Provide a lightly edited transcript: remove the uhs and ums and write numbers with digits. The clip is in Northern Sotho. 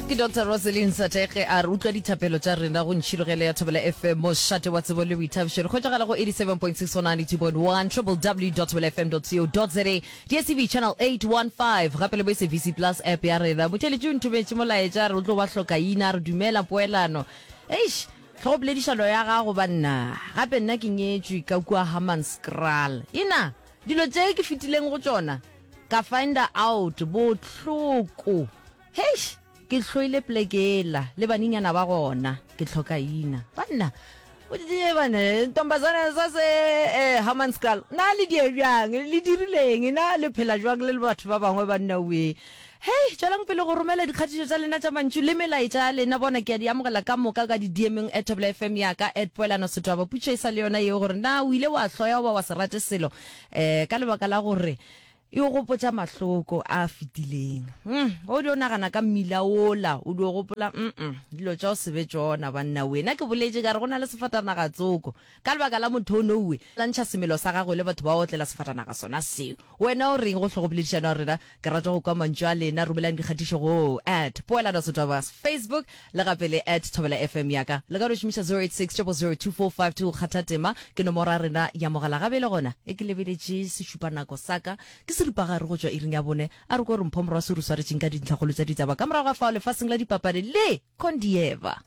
Ke Doctor Roselyn Sathekge a re utlwa dithapelo tša rena go Ntšhirogelo ya Thobela FM, mošate wa tsebo le boithabišo. Re hwetšagala go 87.6 go 92.1, www.thobelafm.co.za, DSTV channel 815, gape le bo SABC Plus app ya rena. Motheeletši o nthometše molaetša a re o tlo ba hlokaina, a re dumela poelano. Eish, hlogopoledišano ya gago banna. Gape nna ke nyetšwe ka kua Hammanskraal. Ina, dilo tše ke fetileng go tšona, ka finder out bohloko. Heish! Ke hloile pleke yela le banenyana ba gona. Ke hloka ina. Banna, ye bana, ntombazana sa se eh, Hammanskraal, na le die bjang? Le dirileng? Na le phela jwang le le batho ba bangwe banna wee? Hei, tšwelang pele go romela dikgatišo tša lena tša mantšu le melaetša ya lena. Bona, ke a di amogela ka moka ka di-DM-eng at Thobela FM ya ka, at Poelano Setwaba. Potšišo e sa le yona yeo gore na o ile wa hloya goba wa se rate selo eh, ka lebaka la gore E o gopotša mahloko a a fetileng. Umm, ge o dio nagana ka mmila wola, o dio gopola, umm, dilo tša go se be tšona, banna we. Nna ke boletše ka re go na le sefatanaga tsoko, ka lebaka la motho o nowe, la ntšha semelo sa gagwe le batho ba otlela sefatanaga sona seo. Wena o reng go hlogopoledišano ya rena? Ke rata go kwa mantšu a lena. Romelang dikgatišo go at Poelano Setwaba Facebook le gape le at Thobela FM ya ka. Le ka no šomiša 086 000 2452 go kgatha tema. Ke nomoro ya rena ya mogala. Ga bjale gona e ke lebeletše sešupanako sa ka, ke seripagare go tšwa iring ya bone. A re ko re Mpho Morwasi o re swaretšeng ka dintlhakgolo tša ditaba ka morago ga fao lefaseng la dipapadi le Kondieva.